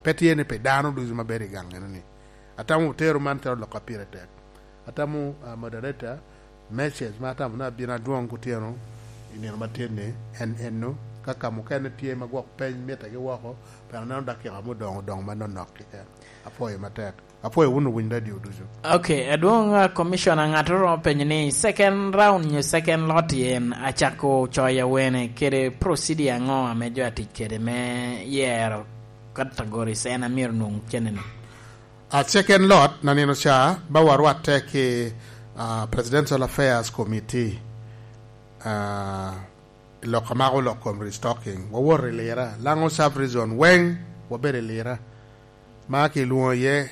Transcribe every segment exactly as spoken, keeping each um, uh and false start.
Pe tye ni pi dano ducu ma bedo i gang eno ni. Atamo otero man calo lok a pire tek. Atamo, ah, moderator, message ma atamo ni abino adwoŋ kutyeno i nino matin ni, en enno, ka ka mukene tye ma gwok peny mitte ki woko, pien aneno dakika mudoŋo odoŋo manonok keken. Apwoyo matek. Apwoyo wun owiny radio ducu. Ok, adwoŋ, ah, Commissioner, ŋat oromo penyo ni second round nyo second lot en acako coyo awene kede procedure aŋo ame jo atic kede me yero categories en a myero nwoŋ cennene? A second lot na nino ca, ba warwatte ki, ah, Presidential Affairs Committee, ah, lok amako lok kom restocking. Wawoto i Lira, Laŋo sub-region weŋ wabedo i Lira. Ma kilwoŋo iye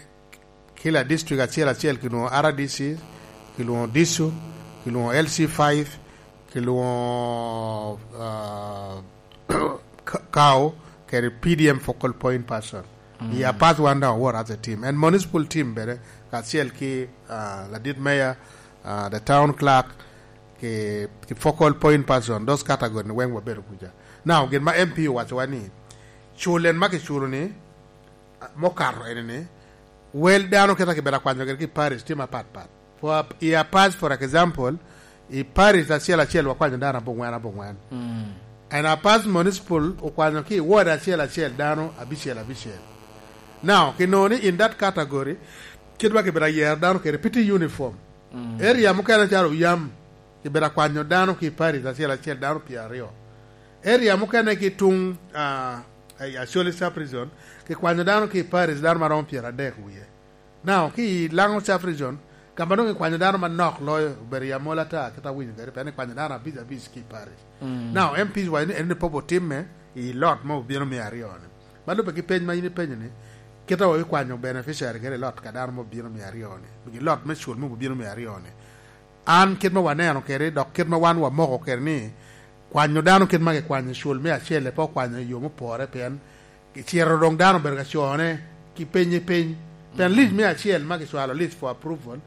kila district acel acel, kilwoŋo R D C, kilwoŋo disu, kilwoŋo L C five, kilwoŋo, ah, Ka-, Kao, kede P D M focal point person. Mm. I Apaz wan daŋ awor as a team. And municipal team bene, kacel ki, ah, ladit mayor, ah, the town clerk, ki, ki focal point person, those category ni weŋ wabedo kuca. Now, gin ma M P owacowa ni, cul en ma kiculo ni, ah, mokato ene ni, wel dano keta kibedo akwanyo gire ki parish tye mapat pat. For, i Apaz, for example, i parish acel acel wakwanyo dano abongwen abongwen. Mm. And Apaz Municipal okwanyo ki i ward acel acel dano abicel abicel. Now, kinoo ni in that category, kit ma kibedo ayero dano kede pe tye uniform. Mm. Area mukene calo Oyam, kibedo akwanyo dano ki i parish acel acel dano pyeraryo. Area mukene ki tuŋ, ah, i Acholi sub-region, kikwanyo dano ki i parish dano ma romo pyeradek wie. Now, ki i Laŋo sub-region, ka ma doŋ ikwanyo dano manok loyo, obedo i Amol ata, kit awinyo kede, pien ikwanyo dano abic abic ki i parish. Mm. Now, M Ps waco ni en ni pop otimme i lot ma obino me aryo-ni. Ma lubbe ki peny ma in ipenyo ni, kit a obikwanyo beneficiary kede i lot ka dano ma obino me aryo-ni, i lot me cul ma obino me aryo-ni. An kit ma waneno kede, dok kit ma wan wamoko kede ni, kwanyo dano kit ma kikwanyo cul me acel, pe okwanyo i yo mupore, pien kicito doŋ dano obedo ka cone ki peny i peny. Pien, mm, list me acel ma kicwalo, list for approval,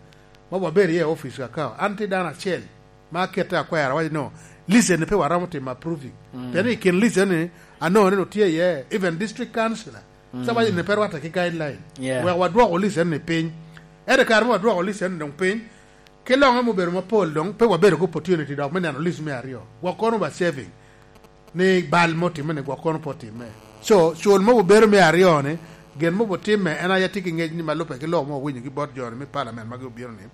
ma wabedo iye i office ka, an tye dano acel ma akette akwero, awaco ni, "No, list eni pe waromo timo approving." Mm. Pien i kin list eni, anongo ni tye iye even district councillor. Mm. Sa waco ni pe rwatte ki guideline. Yeah. Wek wadwoko list eni piny. Ento kare ma wadwoko list eni doŋ piny, ki loŋe ma obedo mapol doŋ, pe wabedo ki opportunity dok me neno list me aryo. Gwok kono ba saving ni bal mo timme ni gwok kono pe otimme. So, cul mo obedo me aryo ni, gin mo otimme, en aye tye ki ngec ni ma lubbe ki lok mo owinyo ki bot jo ni me parliament ma gi obino ni.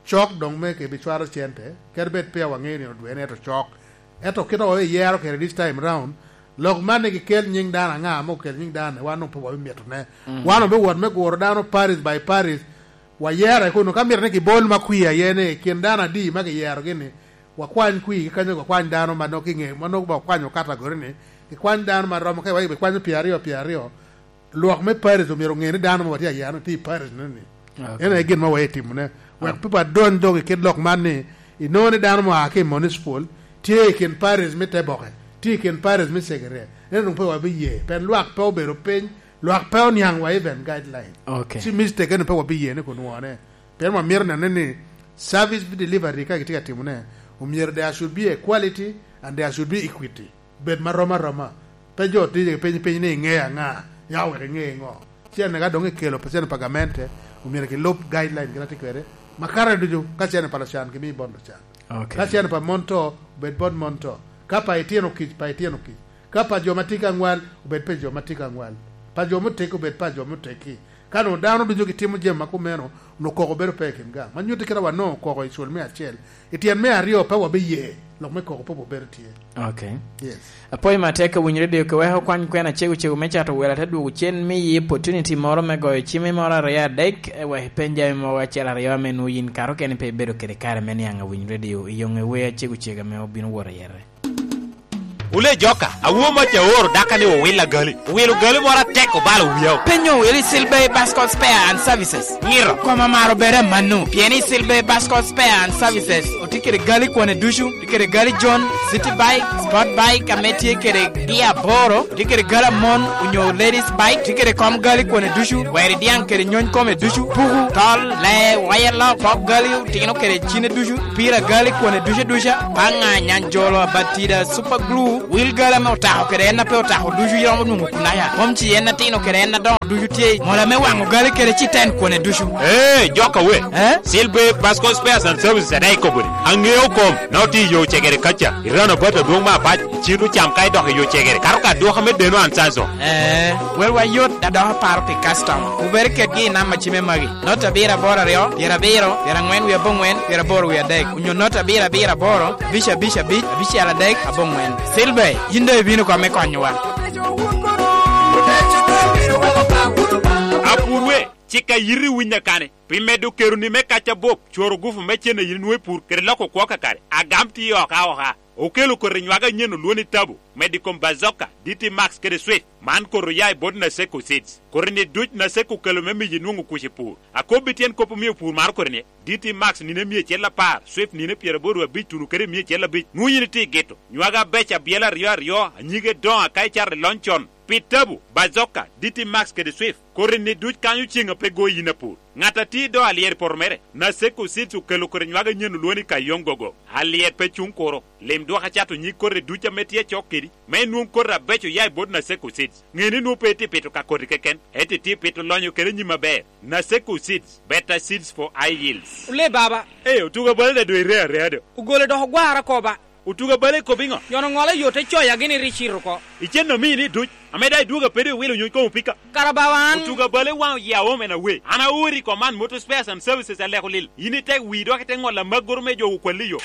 Cok doŋ me ke bicwalo cente, kadi bed pe waŋeyo ni odwene, ento cok. Ento kit a wayero kede this time round, lok man ni kikel nyiŋ dano aŋa ame okel nyiŋ dano, wan doŋ pe wabimito ne. Mm. Wan doŋ biwot me guro dano parish by parish, wayere kuno. Ka mito ni kibol ma kwi aye ni kin dano adi ma kiyerogi ni, wakwany kwi, kanyo wakwany dano ma noko kinge, ma noko ba wakwanyo category ni, kikwany dano ma romo ka iwaco bikwanyo pyeraryo, pyeraryo. Lwak me parish omyero oŋe ni dano ma watye ayano tye i parish neni. Ok. En aye gin ma waye timone. Wek, ok, pe wadony doŋ i kit lok man ni, inongo ni dano mo a ki i municipal, tye i kin parish me Teboke, tye i kin parish me Segerea. En doŋ pe wabiye, pien lwak pe obedo piny, lwak pe oniaŋ wa even guideline. Ok. Ci mistake eni pe wabiye ni kun wone. Pien wamito nene ni service delivery ka kitye ka timone, omyero there should be a quality and there should be equity. Bed ma rom aroma. Pe jo tye piny piny ni iŋeo aŋa, ya wek iŋe iŋo. Cene ka doŋ ikelo pa cene pa gamente, omyero kilub guideline gin atye kwede. Makare ducu, ka cene pa lucan, gimi bot lucan. Ok. Ka cene pa mon to, obed bot mon to. Ka pa itino kic, pa itino kic. Ka pa jo ma tye ka ŋwal, obed pa jo ma tye ka ŋwal. Pa jo muteggi, obed pa jo muteggi. Ka doŋ dano ducu gitimo jami ma kumeno, onwoŋo koko bedo pe i kin gang. Ma nyutti kite wa nongo koko i cul me acel. I tyen me aryo pe wabiye, lok me koko pe obedo tye. Ok. Yes. Apwoyo matek ka winyo redio, ke wek okwany kwena cego cego me cato welo, ate dwogo cen miyi opportunity moro me goyo cimi moro aryo adek, eh, wek ipeny jami mogo acel aryo ame nwoŋo yin kato kene pe ibedo kede kare me niaŋ awinyo redio, i yoŋe wer acego cego ame obino wot ayete. Wule joka, awo mac aoro daka ni owil agali. Owilo gali moro atek obalo wiya. Penyo wili Silver Bascot Spare and Services. Ngiro. Koma maro bere manu. Pieni Silver Bascot Spare and Services. Tye kede gali kwane ducu, tye kede gali John, City Bike, Sport Bike ame tye kede gia aboro, tye kede gali amon onyo Ladies Bike, tye kede kom gali kwane ducu, weri diaŋ kede nyony kome ducu, puku, tol, lee, waya lok, pok gali otino kede cine ducu, pira gali kwane ducu aduca, paŋa, nyanjolo, abatida, super glue, wil gali ame otako kede en a pe otako ducu iromo nwoŋo kunaya, kom ci en atino kede en adoŋo ducu tye, mola me waŋo gali kede citen kwane ducu. Ee, jok awe. Eh? Silver Pasco Spares and Services ate ikobo ni, aŋeo kom, na otye i yo cegere kaca, i rano bat adwoŋ me apac, icito cam ka idok i yo cegere, kato ka adwoka me deno an Sanso. Eh, welwa yot, a dok aparo pi customer. Wubere kedgi i namba cime magi, nota abiro aboro aryo, pyerabiro, pyeraŋwen wie aboŋwen, pyeraboro wie adek, onyo nota abiro abiro aboro, abic abic abic, abicel adek, aboŋwen. Silver, yin doŋ ibino kome konyowa. Apurwe, cik a yiti winya kane, pi medo keroni me kac abup, cworo gufu me cen a yin inwoŋo i pur, kede loko kwo kakare, agam tye oko aoka. Okelo koti nywage anyen olwoni Tabo, medo i kom Bazooka, D T Max kede Swift. Man koti oya i bot Naseko Seeds. Koti-ni duc Naseko okelo me miyi nwoŋo kuc i pur. Akobbi tyen kop omio pur maro koti-ni, D T Max nino emia acel apar, Swift nino pyeraboro abic tuno kede emia acel abic. Nwoŋo yin itye i gito. Nywage abeco abyela aryo aryo, anyige doŋo aka icato i lony con. Pi Tabo, Bazooka, D T Max kede Swift, koti-ni duc kanyo ceŋ a pe goyi yin apur. Ŋat a tye i do alyero i poto mere, Naseko Seeds okelo koti nywage anyen olwoŋo ni Kayong Gogo. Alyet pe cuŋ kuro. Lim dwok acato nyig koti duc ame tye acok kedi, me inwoŋ koti abeco oya i bot Naseko Seeds. Ŋe ni nwoŋo pe itye pito ka koti keken, ento itye pito lonyo kede nyim aber. Naseko Seeds, better seeds for high yields. Ole baba. Ee, otuga bala daŋ doŋ iree areya do. Ogole dok ogwara koba. Otuga bala ikobo iŋo? Yono ŋolo yo te coya gini ri cito oko. Icen omii ni duc, ame daŋ idwogo a pe doŋ iwilo nyony koŋ opika. Kara bawa an. Otuga bala iwaŋo yia omen awe. An aori i Command Motor Spares and Services aleko lil. Yin ite wi dok ite ŋolo amagoro me jo okwalli yo.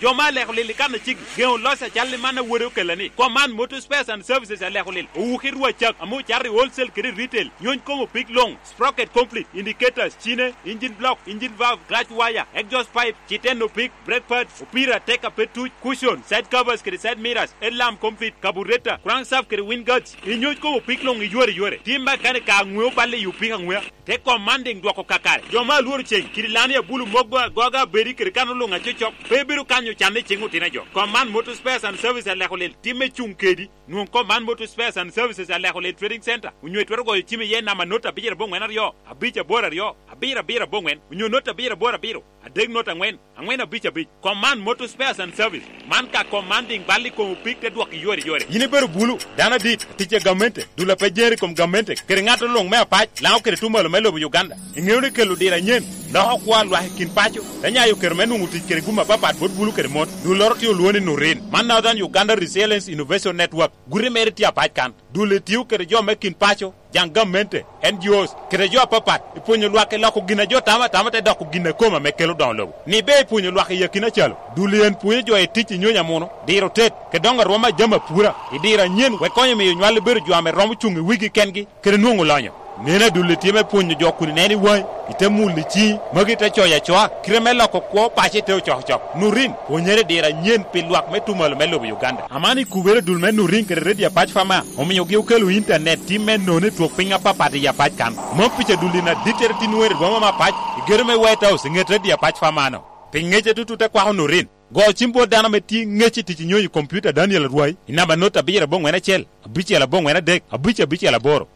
Jo ma aleko lil i kan aciki, geŋo loc acal i man a wode okella ni, Command Motor Spares and Services aleko lil, owuki rwa cak, ame ocato i wholesale kede i retail, nyony koŋ opik luŋ, sprocket complete, indicators, cine, engine block, engine valve, clutch wire, exhaust pipe, citen opik, brake pads, opira, tek a pe tuc, cushion, side covers kede side mirrors, headlamp complete, carburetor, crankshaft kede wind guards, inyony koŋ opik luŋ i yore yore. Tim makanika aŋweo balle i opik aŋwea. Te Commanding dwoko kakare. Jo ma alworo ceŋ, kidi lani abulu mogo agoga abedi kede kan oluŋ acocok, pe bedo kanyo canne i ceŋ otino a jo. Command Motor Spares and Services aleko lil, timme cuŋ kedi. Nwoŋ Command Motor Spares and Services aleko lil Trading Center, onyo itwero goyo cim iye namba not abicel aboŋwen aryo, abic aboro aryo, abiro abiro aboŋwen, onyo not abiro aboro abiro, adek not aŋwen, aŋwen abic abic. Command Motor Spares and Service. Man ka Commanding bal i kom opik te dwok i yore yore. Yin ibedo bulu, dano adit, tic a gamente, dul a pe jer i kom gamente, kede ŋat oluŋ me apac, Laŋo kede tumalo me lobo Uganda. Iŋeo ni kelo diro anyen, loko kwo a lwak i kin paco, te nyayo kero me nwoŋo tic kede gum apapat bot bulu kede mon. Dulloro tye olwoŋo ni Nurin. Man Northern Uganda Resilience Innovation Network. Guti mere tye apac kan. Dul etio kede jo me kin paco, jaŋ gamente, N G Os, kede jo apapat, i pwonyo lwak i loko gin a jo tamo atama te doko gin a kome ame kelo doŋo lobo. Ni be i pwonyo lwak i akina calo, dul en pwonyo jo i tic i nyony amuno, diro tet, kede doŋo arwom a jami apura, i diro anyen wek konyo miyo nywal ebedo jo ame romo cuŋ i wigi kengi, kede nwoŋo lonyo. Neno adulli tye me pwonyo jo kun ineno i waŋi, ite mulo i ciŋi, magi te coyo acoa, kite me loko kwo paco ite ocokocok. Nurin, pwonyere i diro anyen pi lwak me tumalo me lobo Uganda. Aman i kubere dul me Nurin kede Radio Apac Fama, omiogi okelo intanet tim me nono i twok piny apapat i Apac kan. Mom pica dulli na dittere tin wer i boma me Apac, i gedo me White House i ŋet Radio Apac Fama-no. Pi ŋece tutut te kwako Nurin. Go cim bot dano ame tye ŋec i tic i nyonyo i kompiuta Daniel Arwai i namba not abiro aboŋwen acel, abicel aboŋwen adek, abic abicel aboro.